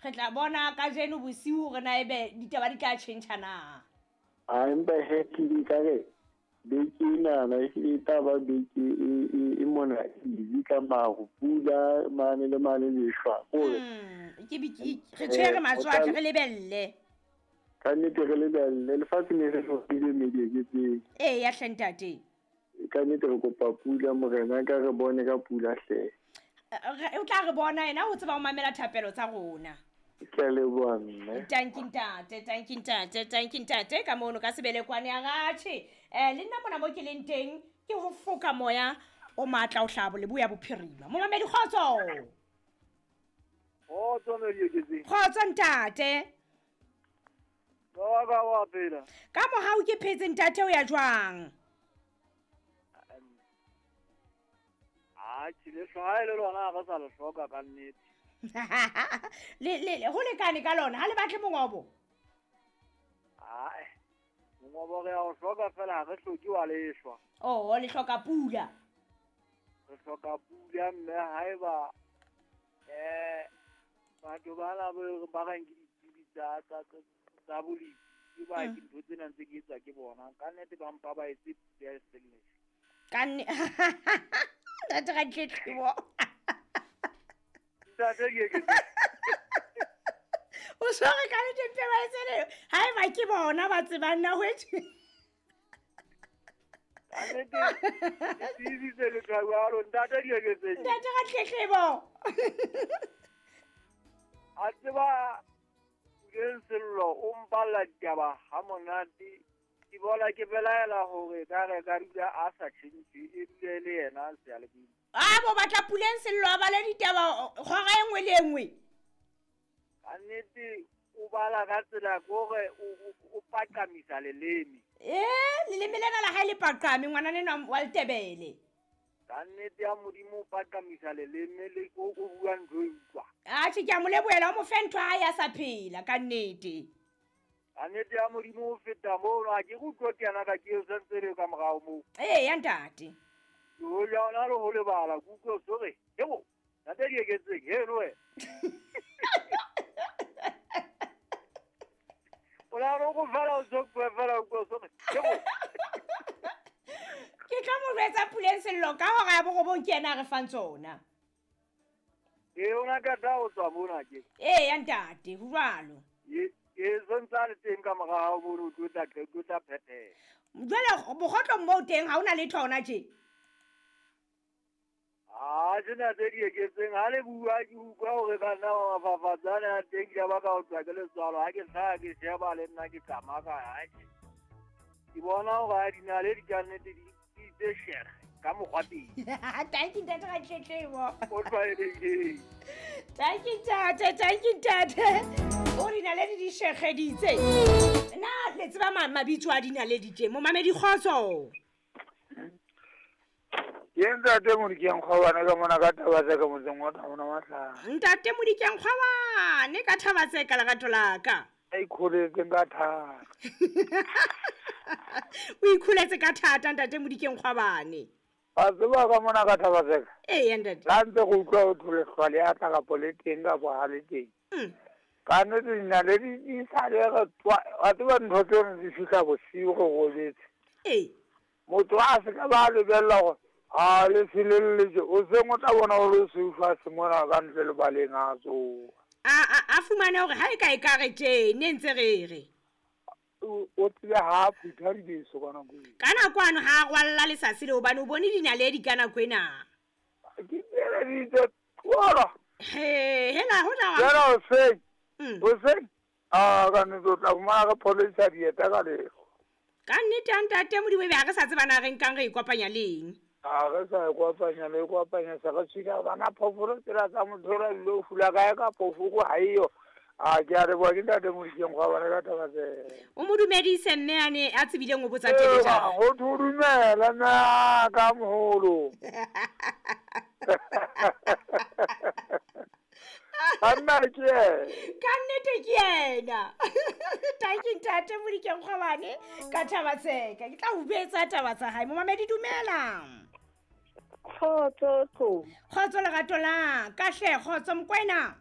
Re tla bona kajeno bosiu hore na ebe ditaba di tla tjhentjha na. A empa he ke ka re beke enana ehlile e tla ba beke e mona easy ka maru, pula mane le mane lehlwa. Kore Ke re tshwere matswatle, re lebelle. Ka nnete re lebelle, lefatshe ne re hlokile medieketseng. Ee, ya hle ntate. Ka nnete re kopa pula morena, ka re bone ka pula hle. O tla re bona yena, o tseba ho mamela thapelo tsa rona. Ke a leboha mme. Tanki ntate, tanki ntate, tanki ntate, ka mono ka sebelekwane ya ratjhe. Le nna mona mo ke leng teng ke ho foka moya o matla o hlabo leboya bophirima. Momamedi kgotso. Kgotso Medieketseng. Kgotso ntate. Ba ka wa phela. Ka mohau ke phetse ntate, o ya jwang? A ke le hlwae le lona ha re sa le hloka ka nnete. Le ho lekane ka lona, ha le batle mongobo? Ae, mongobo re a o hloka fela, ha re hloke wa lehlwa. Oh, le hloka pula. Re hloka pula mme haeba batho bana ba reng ke ditsebi tsa bolemi, ke ba ke ntho tsena ntse ke etswa ke bona. Ka nnete ba mpa ba etse pula e seng lehlwa. Ka Ntate ga tletlebo. Ntate ke ke. O tshwere ka nnete mpe ba etse le, haeba ke bona ba tsebang na ho etse. Ka nnete, ke tsebitse le jwalo, ntate ke ke tsebe. Ntate ga tletlebo. A tseba Puleng Sello o mpalla ditaba ha monate. Ke bona ke belaela hore ka re ka dula a sa tjhentjhe, e dule le yena seyalemoyeng. A bo batla Puleng Sello a bale ditaba hora e nngwe le e nngwe. Ka nnete o bala ka tsela ke hore o paqamisa leleme. Leleme lena la hae le paqame, ngwana enwa wa Letebele. Ka nnete ya Modimo o paqamisa leleme le o bua ntho e utlwa. Atjhe, ke a mo lebohela, o mo fe ntho ha hae a sa phela ka nnete. Ka nnete ya Modimo o feta moo, ha ke utlwe ke yena ka ke o sentse le ka morao moo. Ee, ya ntate. Ke ho ja ona le ho lebala, ke utlwe o re, hebo, ntate di eketseng, he no wena. O la re go fela o tso bua fela o utlwe o re, hebo. Ke tlo mo jwetsa Puleng Sello ka hora ya borobong ke yena a re fang tsona. Ee, o na ka tla o tswa mona ke. Ee, ya ntate, ho jwalo. Ee, sentse a le teng ka mora hao mono, o tlo tla qe-, o tlo tla phethela. Jwale bokgotlong moo teng ha hona letho hona tje? Ha tsena tse di eketseng, ha le bua ke utlwa hore ka nna wa mafafatsane a teng, ke ba ka o tswa ke letswalo. Ha ke hlaha ke sheba le nna ke tsamaya ka hae. Ke bona hore ha dinaledi ka nnete di itse shege ka mokgwa teng. Thank you, ntate Ratletlebo. O tlwaelehileng. Thank you, ntate, thank you, ntate. O dinaledi di shegeditse. Na le tseba mabitso a dinaledi tje? Momamedi kgotso. Ke ntate Modikeng Kgwabane ka mona ka taba tsa ka motseng wa Thabana Matlhare. Ntate Modikeng Kgwabane ka thaba tse ka lerato la ka. A ikholetse ka thata. O ikholetse ka thata ntate Modikeng Kgwabane. Wa tseba ka mona ka thaba tse ka? Ee, ntate. La ntse go utlwa ho thole hlwa le a tla kapo le teng kapo ha le teng. Ka nnete dinaledi di sa le re tswa, wa tseba ntho tseno di fihla bosiu re robetse. Ee. Motho a se ka ba lebella hore ha le felelletse, o seng o tla bona o le seu fatshe mona ka ntle le baleng a tsoha. A fumane hore ha e ka e ka re tje, ne ntse re re. O tsebe ha a phutha dibeso ka nako eo. Ka nako ano ha a rwalla lesasi le hobane o bone dinaledi ka nako ena. Ke tsheleditse twala. He, hela, ho ja wa- Jwale hoseng, hoseng, a, ka nnete o tla fumana re pholisa dieta ka lehlwa. Ka nnete ya ntate Modimo, ebe ha re sa tseba na re nkang re ikopanya le eng. Ha re sa e kopanya le kopanya, se re tshwina bana phoofolo tsela tsa motho o la dilo fula kae ka phoofolo ha eyo. A ke a leboha ke ntate Modikeng Kgwabane ka taba tse. O mo dumedise mme a ne a tsebileng o botsa Ee, tjhelete. ba, ho thwe o dumela mme a ka moholo. Banna ke yena. Ka nnete ke yena. Thank you ntate Modikeng Kgwabane ka taba tseka. Ke tla o betsa taba tsa hae. Momamedi dumela. Kgotso tlo. Kgotso lerato la ka hle, kgotso Mokoena.